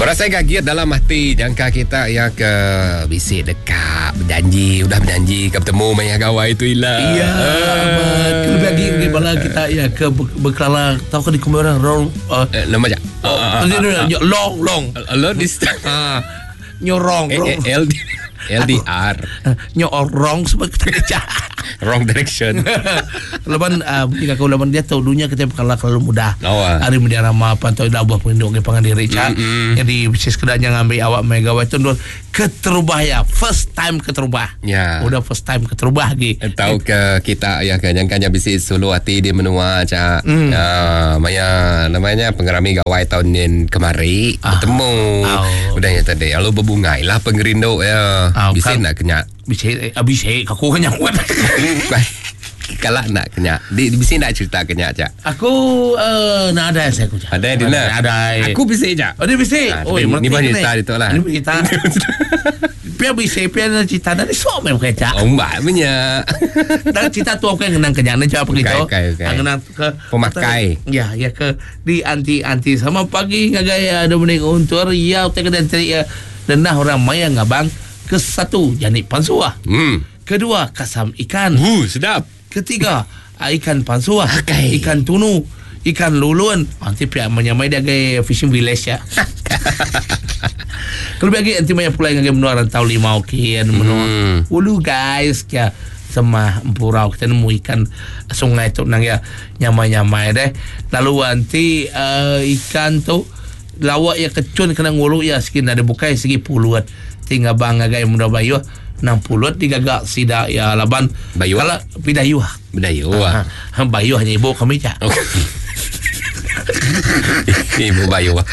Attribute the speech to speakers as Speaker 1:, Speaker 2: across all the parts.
Speaker 1: Berasai gagit dalam ati jangka kita iya ke bisi deka bejanji udah bejanji ke betemu maya gawai tu ila.
Speaker 2: Iya amat. Kelebih agi bagi bala kita iya ke bekelala tauka dikumbai orang wrong
Speaker 1: uh, eh, nama aja.
Speaker 2: Oh, uh, uh, long long.
Speaker 1: Long distance.
Speaker 2: Ah. Nyorong
Speaker 1: eh, eh, LD, LDR.
Speaker 2: Nyorong sebab kita kerja.
Speaker 1: Wrong direction.
Speaker 2: Laban uh, jika kau laban dia tahu dunia kita kalah terlalu mudah.
Speaker 1: Oh, ah.
Speaker 2: Hari media rama pantau dah buah pelindung ke pangan diri cak. Mm-hmm. Jadi mesti sekedarnya ngambil awak mega itu dulu keterubah ya first time keterubah.
Speaker 1: Ya.
Speaker 2: Udah first time keterubah lagi.
Speaker 1: Eh, tahu ke kita ya ke nyangkanya bisi sulu hati di menua cak. Ya, maya namanya pengerami gawai tahun ni kemari bertemu.
Speaker 2: Oh.
Speaker 1: Udah nya tadi lalu berbungai lah pengerindu ya.
Speaker 2: Ah,
Speaker 1: Bisi
Speaker 2: kan.
Speaker 1: nak kenyak.
Speaker 2: Bisa eh, bisa aku kan nyamuk.
Speaker 1: Kalau nak kenyak. Di bisi nak cerita kenyak cak.
Speaker 2: Aku uh, nak ada saya aku cak.
Speaker 1: Ada di nak.
Speaker 2: Ada.
Speaker 1: Aku bisi cak.
Speaker 2: Oh dia bisa.
Speaker 1: Ah,
Speaker 2: Oh,
Speaker 1: tapi ni banyak cerita itu lah.
Speaker 2: Ni cerita. Pia bisa pia nak cerita dari sok memang kecak.
Speaker 1: Oh, mbak punya.
Speaker 2: Dan cerita tu aku yang ngenang kenyang ni jawab begitu.
Speaker 1: Okey, okey, okey.
Speaker 2: Ah, Ngenang ke
Speaker 1: Pemakai.
Speaker 2: Ya, ya ke di anti anti sama pagi ngagai eh, Dominic Untur ya utai ke dan ya denah orang maya ngabang ke satu janik pansuah. Kedua kasam ikan.
Speaker 1: Sedap.
Speaker 2: Ketiga ah, ikan pansuah,
Speaker 1: Okey.
Speaker 2: ikan tunu, ikan lulun. Nanti pihak menyamai dia ke fishing village ya. Kalau lagi nanti maya pulai ngagai menua rantau limau kian menua. Ulu guys kia semah empurau kita nemu ikan sungai tu nang ya nyamai-nyamai deh. Lalu nanti uh, ikan tu lawak ya kecun kena ngulu ya segi ada bukai segi puluat. Tinggal bang ngagai menua bayu nang puluat digagak sida ya laban
Speaker 1: Bayu?
Speaker 2: kalau pidayu
Speaker 1: Berdayu
Speaker 2: Ha,
Speaker 1: ah.
Speaker 2: ha, bayu hanya ibu kami cak.
Speaker 1: Okey. Ibu Bayu ah.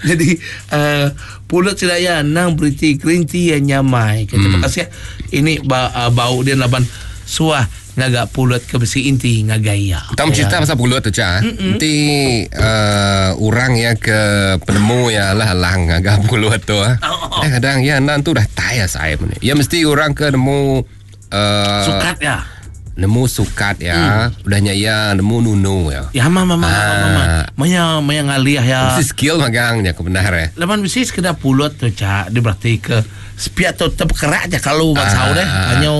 Speaker 2: Jadi uh, pulut sidaya nang beriti green tea yang nyamai. Okay, Terima kasih. ya. Ini ba, uh, bau dia laban suah ngagak pulut ke besi inti ngagaya.
Speaker 1: Tam cerita pasal pulut tu cak. Nanti uh, orang ya ke penemu ya lah lang agak pulut tu ah.
Speaker 2: Oh, oh.
Speaker 1: Kadang-kadang ya nan tu dah tai ya saya ni. Ya mesti orang ke nemu uh,
Speaker 2: Sukat ya.
Speaker 1: Nemu sukat ya. Udahnya ya nemu nunu ya.
Speaker 2: Ya mama mama
Speaker 1: Ah.
Speaker 2: mama. Maya maya ngaliah ya.
Speaker 1: Mesti skill magangnya kebenar ya.
Speaker 2: Laban besi sekedar pulut tu cak dia berarti ke sepiak tu terkerak je kalau bangsa
Speaker 1: Ah.
Speaker 2: deh. Hanya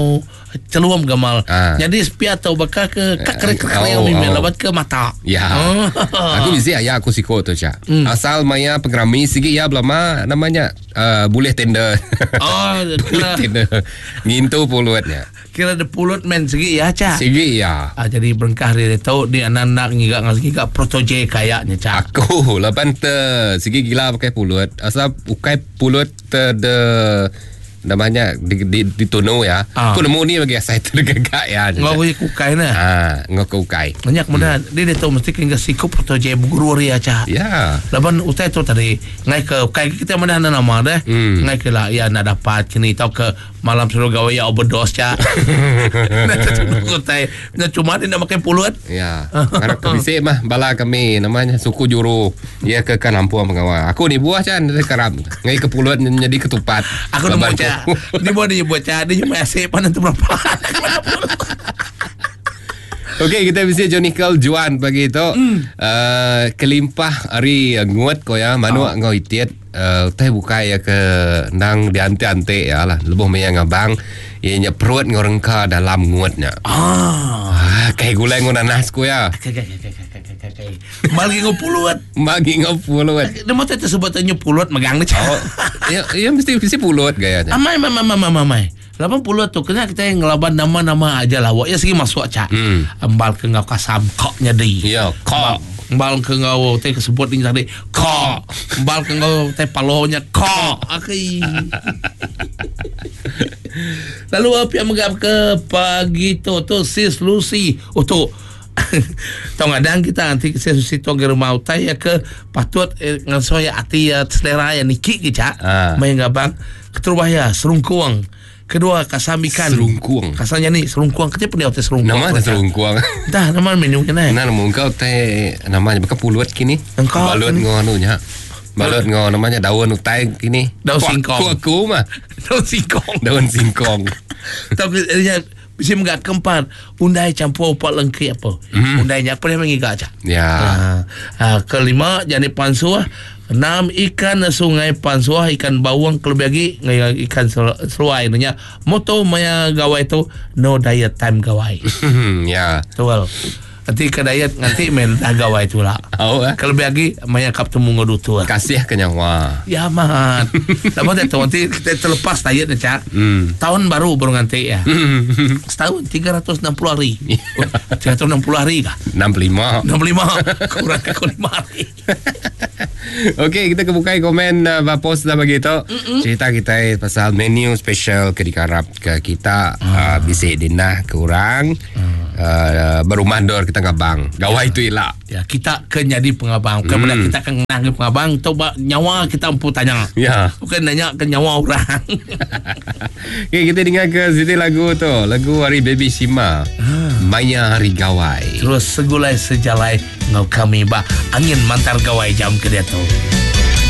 Speaker 2: celuam gamal.
Speaker 1: Ah.
Speaker 2: Jadi sepiak tu bakal ke kak krik krik
Speaker 1: Oh,
Speaker 2: oh,
Speaker 1: oh.
Speaker 2: laban ke mata.
Speaker 1: Ya.
Speaker 2: Oh.
Speaker 1: Aku bisi ayah aku siko tu cak. Asal maya pengerami sigi ya belama namanya uh, boleh tender.
Speaker 2: Oh,
Speaker 1: boleh
Speaker 2: kira
Speaker 1: tender. Ngintu pulutnya.
Speaker 2: kira ada pulut men segi ya cak.
Speaker 1: Sigi ya.
Speaker 2: Ah, jadi berengkah dia tahu dia anak-anak ngigak ngigak protoje kayaknya cak.
Speaker 1: Aku lapan te sigi gila pakai pulut. Asal ukai pulut te de namanya di di, di tunu ya.
Speaker 2: Ah.
Speaker 1: Aku nemu ni bagi saya tergagak ya.
Speaker 2: Ngau kukai nah.
Speaker 1: Ah, ngau ukai.
Speaker 2: Banyak kemudian dia dia tahu mesti kena siku protoje guru dia cak.
Speaker 1: Ya.
Speaker 2: Laban utai tu tadi ngai ke kai kita mana ada nama deh. Ngai ke lah ya nak dapat kini tau ke malam suruh gawe ya overdose cak. Nak tunggu utai. Nak cuma dia nak makan pulut.
Speaker 1: Ya. Karena kebisik mah bala kami namanya suku juru. Ya ke kan ampuang pengawal. Aku ni buah can dari kerap. Ngai ke pulut jadi ketupat.
Speaker 2: Aku nemu
Speaker 1: Laban
Speaker 2: cak.
Speaker 1: ku.
Speaker 2: Dia buat dia buat cak. Dia cuma asyik pandang tu berapa.
Speaker 1: Okey, kita bisa Johnny Juan pagi itu. Uh, kelimpah hari nguat ko ya, manu oh. ngau itiet uh, teh bukai ya ke nang diante-ante ya lah. Lebuh maya ngabang ianya perut ngau rengka dalam nguatnya.
Speaker 2: Ah.
Speaker 1: Ah, kayak gulai ngau nanas ko ya.
Speaker 2: Kai kai kai kai kai kai kai. Bagi ngau pulut.
Speaker 1: Bagi ngau pulut.
Speaker 2: Dia mau tersebut tanya pulut megang ni cak.
Speaker 1: Oh, ya, ya mesti mesti pulut gayanya.
Speaker 2: Amai amai amai amai amai. 80 tu kena kita yang ngelaban nama-nama aja lah. Wak ya segi masuk cak. Embal ke ngau kasam kok nyadi.
Speaker 1: Ya, kok.
Speaker 2: Embal ke ngau teh kesebut ni tadi kok. Embal ke ngau teh palonya kok. Okey. Lalu apa yang menggap ke pagi tu tu sis Lucy. Oh tu. Tong adang kita nanti sis Lucy tu ke rumah utai ya ke patut eh, ngan ya ati ya selera ya niki ke cak.
Speaker 1: Ah.
Speaker 2: Main gabang keterubah ya serungkuang. Kedua kasam ikan.
Speaker 1: Serungkuang.
Speaker 2: Kasamnya ni serungkuang. Kenapa dia teh serungkuang?
Speaker 1: Nama ada serungkuang.
Speaker 2: Dah nama menu kena.
Speaker 1: Nah, nama engkau teh namanya bukan pulut kini.
Speaker 2: Engkau
Speaker 1: Balut
Speaker 2: kini.
Speaker 1: ngau anunya. Balut ngau namanya daun utai kini.
Speaker 2: Daun
Speaker 1: Kuak-
Speaker 2: singkong.
Speaker 1: Kuak aku mah.
Speaker 2: Daun singkong.
Speaker 1: Daun singkong.
Speaker 2: Tapi dia bisa menggak keempat undai campur upak lengki apa. Undainya apa dia mengigak cak.
Speaker 1: Ya.
Speaker 2: Ah, ah, kelima jadi pansu ah. Enam ikan sungai pansuh, ikan baung kelebih agi enggau ikan seruai nya. Moto maya gawai tu no diet time gawai.
Speaker 1: Ya.
Speaker 2: Betul. Enti ke diet nganti meh dah gawai tu ila.
Speaker 1: Au eh.
Speaker 2: Kelebih agi maya ka betemu enggau dutur.
Speaker 1: Kasih ke nyawa.
Speaker 2: Ya amat. Lama diatu enti kita terlepas diet ne cha.
Speaker 1: Hmm.
Speaker 2: Taun baru baru nganti iya. Setaun 360 hari. 360 hari kah?
Speaker 1: 65.
Speaker 2: 65. Kurang aku 5 hari.
Speaker 1: Okey, kita ke bukai komen uh, ba post dah bagi tu. Cerita kita pasal menu special ke dikarap ke kita uh, bisi dinah ke orang uh, berumah dor kita ngabang. Gawai tu ila.
Speaker 2: Ya, kita ke nyadi pengabang. Bukan mm. kita ke ngenah ke pengabang tu ba nyawa kita empu tanya.
Speaker 1: Ya.
Speaker 2: Bukan nanya ke nyawa orang.
Speaker 1: Okey, kita dengar ke siti lagu tu. Lagu hari Baby Shima. Maya Hari Gawai.
Speaker 2: Terus segulai sejalai enggau kami ba angin mantar gawai jam ke diatu.